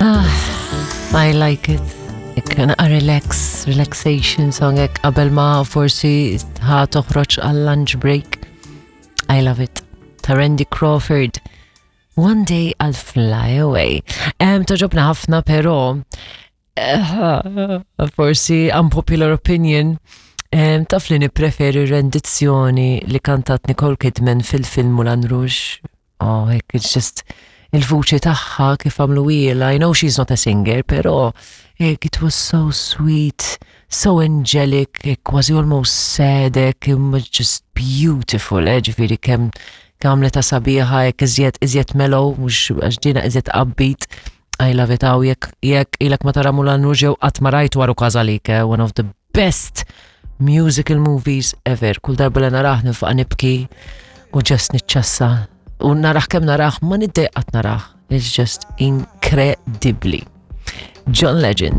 Ah, I like it. Ikka naqa relax, relaxation song hekk qabel ma forsi ħa toħroġ għal lunch break. I love it. Ta' Randy Crawford. One day I'll fly away. Um, toġobna ħafna però eh, forsi unpopular opinion um, taf li nippreferi rendizzjoni li kantat Nicole Kidman fil-film Moulin Rouge. Oh, hekk, it's just il-vuċi tagħha kif għamlu ilha. I know she's not a singer, però hekk, it was so sweet, so angelic, hekk, kważi almost sad, hekk, imma just beautiful, eh, ġifieri kemm għamlet ta' sabiħa, hekk iżjed iżjed mellow, mhux għax dina iżjed upbeat. I love it, għaw jekk jekk ilek ma tara Moulin Rouge jew qatt ma rajt waru każalik, eh, one of the best musical movies ever. Kull darba li narah nifqa nibki u just niċċassa. U narah kemm narah ma niddejqat narah. It's just incredibly. John Legend.